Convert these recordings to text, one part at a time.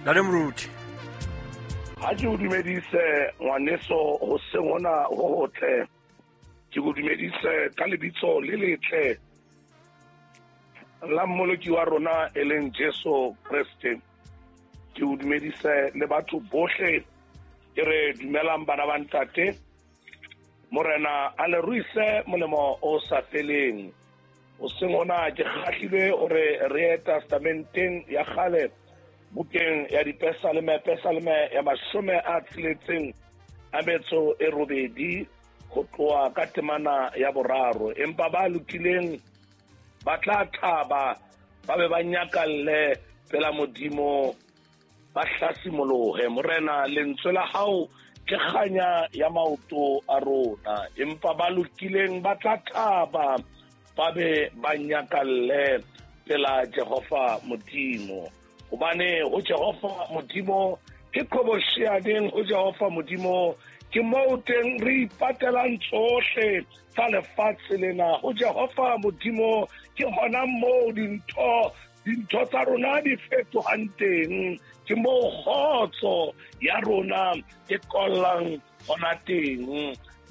Ntate Moruti. Ha ke o dumedise ngwaneso hoseng hona ho hotle. Ke go dumedise ka lebitso le letle la mmoloki wa rona e leng Jesu Kreste. Ke o dumedise le batho bohle ke re dumelang bana ba ntate. Morena a le ruise molemo o sa feleng. Hoseng hona ke kgahlilwe hore re ye testamenteng ya kgale bukeng ya dipesaleme, pesaleme ya 68 ho tloha ka temana ya 3. Empa ba lokileng ba tla thaba, ba be ba nyakalle pela Modimo, ba hlasimolohe. Morena, lentswe la hao ke kganya ya maoto a rona. Empa ba lokileng ba tla thaba, ba be ba nyakalle pela Jehova Modimo. Hobane ho Jehova Modimo ke qhobosheaneng, ho Jehova Modimo ke moo teng re ipatelang tsohle tsa lefatshe lena. Ho Jehova Modimo ke hona moo dintho tsa rona di fetohang teng, ke moo kgotso ya rona e kollang hona teng.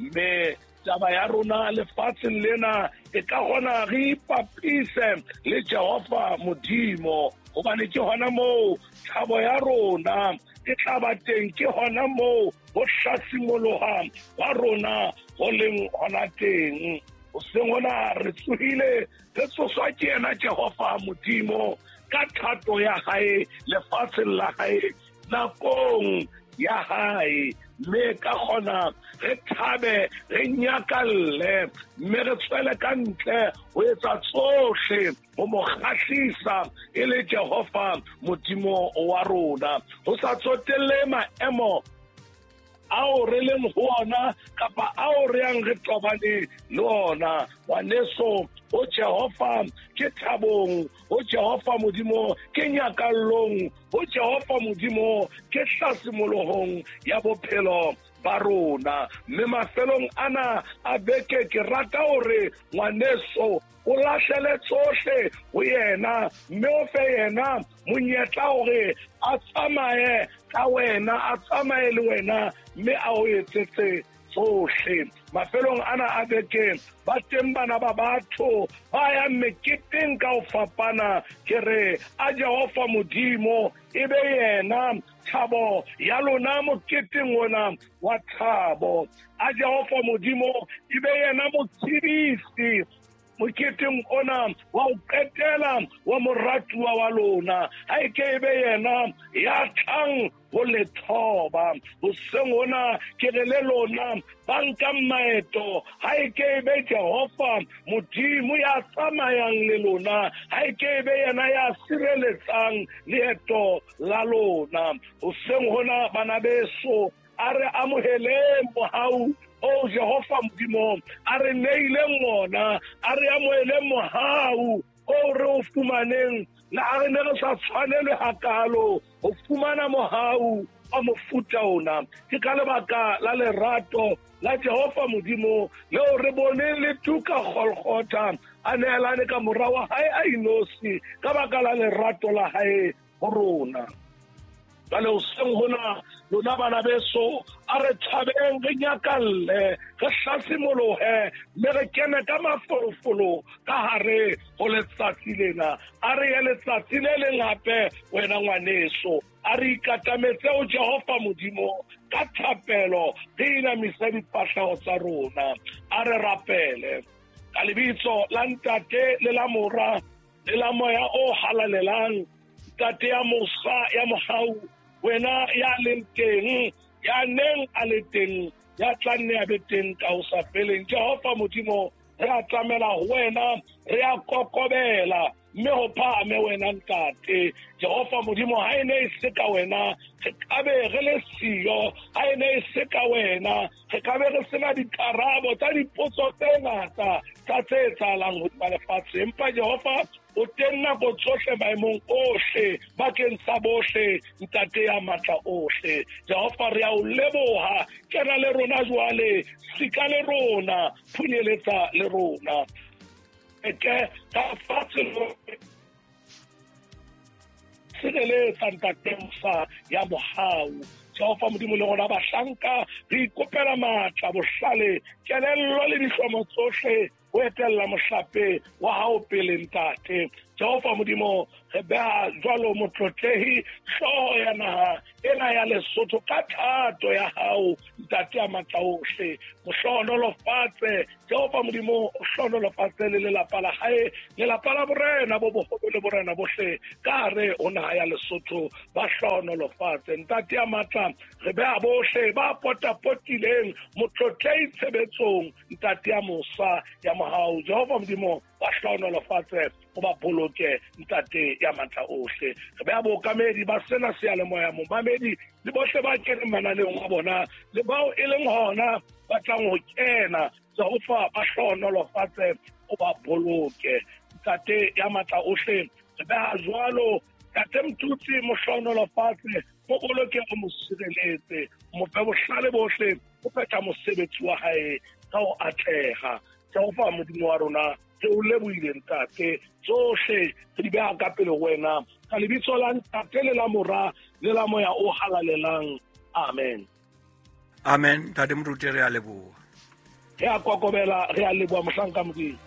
Mme taba ya rona lefatsheng lena e ka hona re ipapise le Jehova Modimo, hobane ke hona moo thabo ya rona e tla ba teng, ke hona moo ho hlasimoloha wa rona ho leng hona teng. Hoseng hona re tsohile, re tsoswa ke yena Jehova Modimo ka thato ya hae lefatsheng la hae nakong ya hae. Mme ka kgona re thabe, re nyakalle, mme re tswele ka ntle ho etsa tsohle ho mo kgahlisa e le Jehova Modimo wa rona. Ho sa tsotelle maemo ao re leng ho ona kapa ao re yang re tobane le ona, ngwaneso, ho Jehova ke thabong, ho Jehova Modimo ke nyakallong, ho Jehova Modimo ke hlasimologong ya bophelo ba rona. Mme mafelong ana a beke ke rata hore ngwaneso o lahlele tsohle ho yena, mme o fe yena monyetla hore a tsamaye ka wena, a tsamaye le wena, mme a o etsetse tsohle. Mafelong ana a beke ba teng bana ba batho ba yang meketeng ka ho fapana. Ke re a Jehova Modimo e be yena thabo ya lona moketeng ona wa thabo. A Jehova Modimo e be yena motshedisi moketeng ona wa ho qetela wa moratuwa wa lona. Ha e ke e be yena ya tlang ho le thoba. Hoseng hona ke re le lona ba nkang maeto, ha e ke e be Jehova Modimo ya tsamayang le lona, ha e ke e be yena ya sireletsang leeto la lona. Hoseng hona bana beso, a re amoheleng mohau o Jehova Modimo a re neileng ona, a re amoheleng mohau o re o fumaneng le ha re ne re sa tshwanelwe hakalo ho fumana mohau wa mofuta ona. Ke ka lebaka la lerato la Jehova Modimo leo re boneng le tuka Golgotha, a neelane ka mora wa hae a inosi ka baka la lerato la hae ho rona. Jwale hoseng hona lona bana beso, a re thabeng, re nyakalle, re hlasimolohe, mme re kene ka mafolofolo ka hare ho letsatsi lena. A re ye letsatsi le leng hape, wena ngwaneso, a re ikatametse ho Jehova Modimo ka thapelo, re inamise difahleho tsa rona. A re rapele ka lebitso la Ntate le la Mora le la Moya o Halalelang. Ntate ya mosa ya mohau, wena ya leng teng, ya neng a le teng, ya tla nne a be teng ka ho sa feleng. Jehova Modimo, re a tlamela ho wena, re a kokobela, mme ho phahame wena Ntate. Jehova Modimo, ha e ne e se ka wena, re ka be re le siyo. Ha e ne e se ka wena, re ka be re sena dikarabo tsa dipotso tse ngata tsa tse etsahalang hodima lefatshe. Empa Jehova, o teng nako tsohle maemong ohle bakeng sa bohle, Ntate ya matla ohle. Jehova, re a o leboha. Kena le rona jwale, sika le rona, phunyeletsa le rona. Eke ka fatshe. Tshireletsa, Ntate mosa ya mohau. Jehova Modimo, le rona bahlanka re ikopela matla, bohlale, kelello le dihlomo tsohle ho etella mohlape wa hao pele, Ntate. Jehova Modimo, re beha jwalo motlotlehi hlooho ya naha ena ya Lesotho ka thato ya hao, Ntate ya matla ohle. Mohlohonolofatse, Jehova Modimo, o hlohonolofatse le lelapa la hae, lelapa la borena bo boholo le borena bohle ka hare ho naha ya Lesotho, ba hlohonolofatse. Ntate ya matla, re beha bohle ba potapotileng motlotlehi tshebetsong, Ntate ya mosa ya mohau. Jehova Modimo, ba hlohonolofatse, o ba boloke, Ntate ya matla ohle. Re beha bookamedi ba sena seyalemoya, momamedi le bohle ba keneng mananeong a bona le bao e leng hona ba tlang ho kena, Jehova, ba hlohonolofatse, o ba boloke, Ntate ya matla ohle. Re beha jwalo Ntate Mtutsi, mo hlohonolofatse, mo boloke, o mo sireletse, mo fe bohlale bohle o phetha mosebetsi wa hae ka ho atleha. Jehova Modimo wa rona, re o lebohile, Ntate. Tsohle re di beha ka pele ho wena, ka lebitso la Ntate le la Mora le la Moya o Halalelang, amen. Amen. Ntate Moruti, re a leboha. Re a kokobela, re a leboha, mohlanka Modimo.